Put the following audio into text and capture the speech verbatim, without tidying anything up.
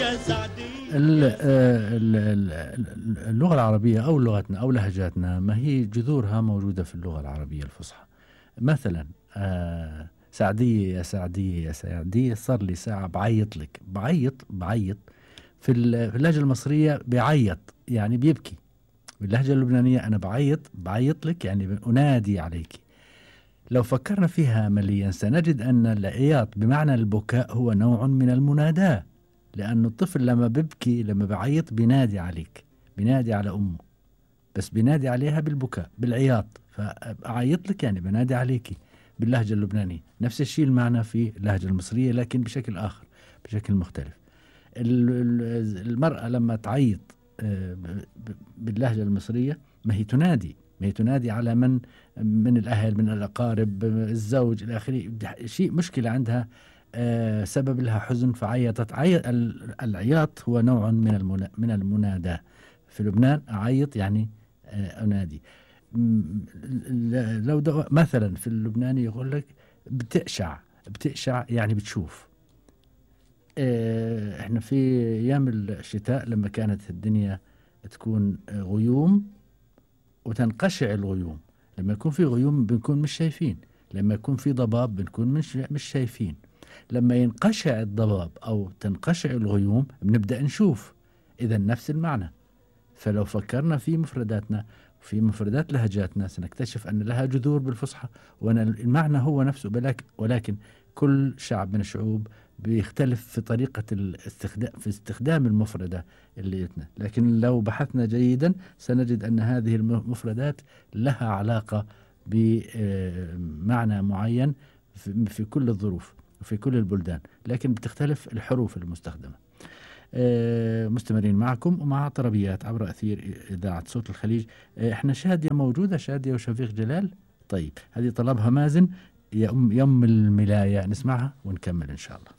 ال- ال- ال- اللغة العربية أو لغتنا أو لهجاتنا ما هي جذورها موجودة في اللغة العربية الفصحى. مثلا آه سعدية يا سعدية يا سعدية، صار لي ساعة بعيط لك. بعيط بعيط في ال- في اللهجة المصرية بعيط يعني بيبكي. باللهجة اللبنانية أنا بعيط بعيط لك يعني أنادي عليك. لو فكرنا فيها عمليا سنجد أن العياط بمعنى البكاء هو نوع من المناداة، لأن الطفل لما ببكي لما بعيط بينادي عليك، بينادي على أمه، بس بينادي عليها بالبكاء بالعياط. فأعيط لك يعني بنادي عليكي باللهجة اللبنانية. نفس الشيء المعنى في اللهجة المصرية لكن بشكل آخر، بشكل مختلف. ال- ال- المرأة لما تعيط آه، ب- ب- باللهجة المصرية ما هي تنادي، ما هي تنادي على من من الأهل من الأقارب الزوج إلى آخره. شيء مشكلة عندها، آه، سبب لها حزن فعيطت. عي... ال- العياط هو نوع من المنا... من المناداة. في لبنان أعيط يعني آه، أنادي. م- ل- لو دو... مثلا في اللبناني يقول لك بتقشع. بتقشع يعني بتشوف. آه، احنا في ايام الشتاء لما كانت الدنيا تكون آه، غيوم وتنقشع الغيوم. لما يكون في غيوم بنكون مش شايفين، لما يكون في ضباب بنكون مش مش شايفين. لما ينقشع الضباب او تنقشع الغيوم بنبدأ نشوف. اذا نفس المعنى. فلو فكرنا في مفرداتنا وفي مفردات لهجاتنا سنكتشف أن لها جذور بالفصحى، وأن المعنى هو نفسه، ولكن, ولكن كل شعب من الشعوب بيختلف في طريقة الاستخدام في استخدام المفردة اللي جتنا. لكن لو بحثنا جيدا سنجد أن هذه المفردات لها علاقة بمعنى معين في في كل الظروف وفي كل البلدان، لكن بتختلف الحروف المستخدمة. آه، مستمرين معكم ومع طربيات عبر أثير إذاعة صوت الخليج. آه، احنا شادية موجودة، شادية وشفيق جلال. طيب هذه طلبها مازن، يا أم يم الملاية، نسمعها ونكمل إن شاء الله.